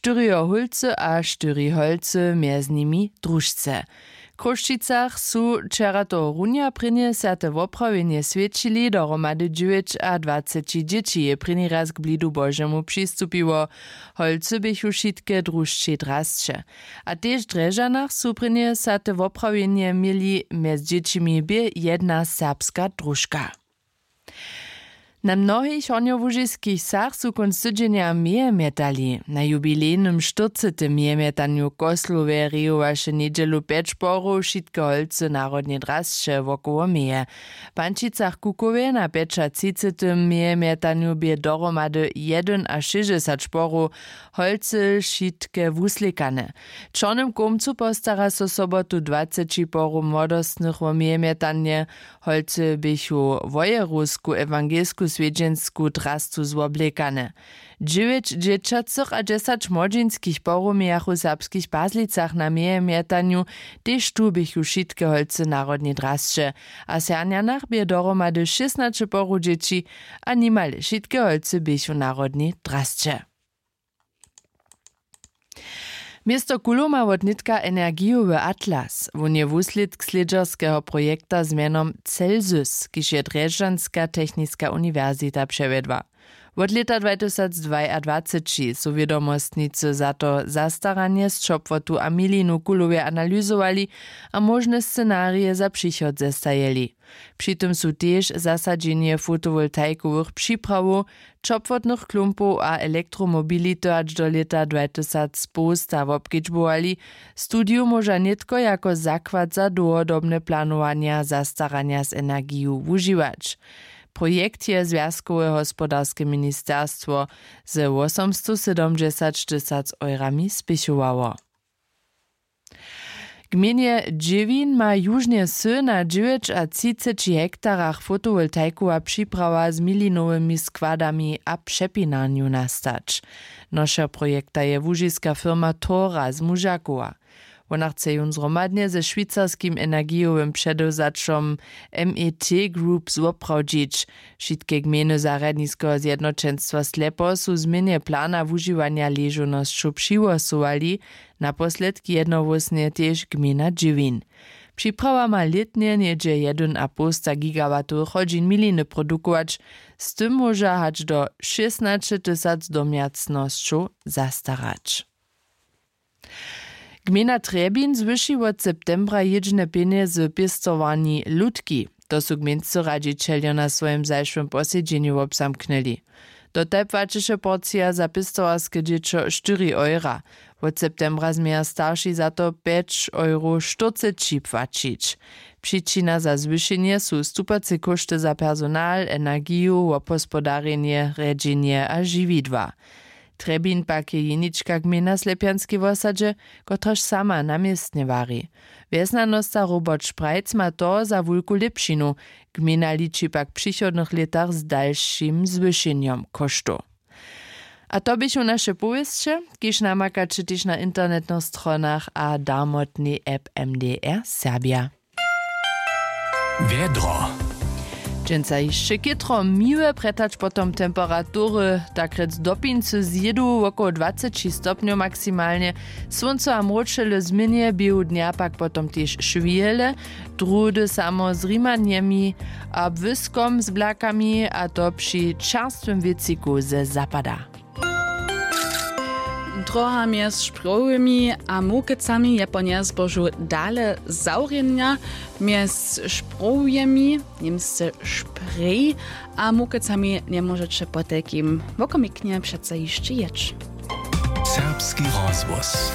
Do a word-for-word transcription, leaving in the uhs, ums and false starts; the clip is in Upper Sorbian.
štyriho hólcy a štyri holcy mjez nimi družce. W chrósćicach su wčera tohorunja prěnje swjate woprawjenje swjećili dohromady dźewjećadwaceći dźěći je prěni raz k blidu božemu přistupiło. Holcy běchu wšitke družćej drasće. A tež w drježdźanach su prěnje swjate woprawjenje měli mjez dźěćimi bě jedna serbska družka. Na mnohich hornjołužiskich wsach su kónc tydźenja meje mjetali. Na jubilejnym štyrcetym mejemjetanju w koslowje rejowaše njedźelu pjeć porow wšitke holcy narodneje drasće wokoło meje. W pančicach kukowje na pjećatřicetym mejemjetanju bě dohromady jedynašěsćdźesać porow holcy wšitke wuslěkane. W čornym kołmcu postara so sobotu dwaceći porow młodostnych wo mejemjetanje. Holcy běchu wojerowsku ewangelsku swjedźensku drastu zwoblekane. Dźewjeć dźěćacych a dźesać młodźinskich porow mějachu w serbskich pazlicach na mejemjetanju. Tež tu běchu wšitke holcy narodnej drasće. A w sernjanach bě dohromady šěsnaće porow dźěći. A nimale wšitke holcy běchu narodnej drasće. Město kuloma wotnětka energijowy atlas wón je wuslědk slědźerskeho projekta z mjenom celsus, kiž je drježdźanska techniska uniwersita přewjedła. Wot lěta dwatysacdwajadwaceći su wědomostnicy za to zastaranje z ćopłotu a milinu w kulowje analyzowali a móžne scenarije za přichod zestajeli. Při tym su tež zasadźenje fotowoltaikowych připrawow, ćopłotnych klumpow a elektromobility hač do lěta dwatysacpołsta wobkedźbowali. Studiju móža nětko jako zakład za dołhodobne planowanja zastaranja z energiju wužiwać. Projekt je zwjazkowe hospodarske ministerstwo ze wósomstosydomdźesaćtysac eurami spěchowało. Gmejnje dźěwin ma južnje wsy na dźewjećatřiceći hektarach fotowoltaikowa připrawa z milinowymi składami a přepinarnju nastać. Nošer projekta je łužiska firma Tora z Mužakowa. Wona chce jón zhromadnje ze šwicarskim energijowym předewzaćom MET Group zwoprawdźić. Wšitke gmejny zarjadniskeho zjednoćenstwa Slepo su změnje plana wužiwanja ležownosćow přihłosowali. Naposledk jednohłósnje tež gmejna dźěwin. Připrawa ma lětnje něhdźe jedynapołsta gigawatowych hodźin miliny produkować. Z tym móža hač do šěsnaćetysac domjacnosćow zastarać. Gmejna Trjebin zwyši wot septembra jědźne pjenjezy pěstowarni Lutki. To su gmejnscy radźićeljo na swojim zašłym posedźenju wobzamknyli. Dotal płaćeše porcija za pěstowarske dźěćo štyri eura. Wot septembra změja starši za to pjeć euro štyrceći płaćić. Přičina za zwyšenje su stupace kóšty za personal, energiju, wobhospodarjenje, rjedźenje a žiwidła. Trjebin pak je jenička gmejna w Slepjanskej wosadźe, kotraž sama na městnje wari. Wjesnjanosta Robert Šprajc ma to za wulku lěpšinu. Gmejna liči pak w přichodnych lětach z dalšim zwyšenjom kóštow. A to běchu naše powěsće, kiž namakaće tež na internetnych stronach a darmotnej app M D R Serbja. Wjedro. Dźensa hišće chětro miłe, prjed hač potom temperatury takrjec dopincy zjědu wokoło dwaceći stopnjow maksimalnje. Słónco a mróčele změnje běhu dnja pak potom tež šwihele, druhdy samo z rimanjemi a błyskom z blakami, a to při čerstwym wětřiku ze zapada. Droha mjez Šprowjemi a Mołkecami je po njezbožu dale zawrjenja. Mjez Šprowjemi, němsce Šprej, a Mołkecami njemóžeće potajkim wokomiknje přeco hišće jěć. Serbski rozhłos.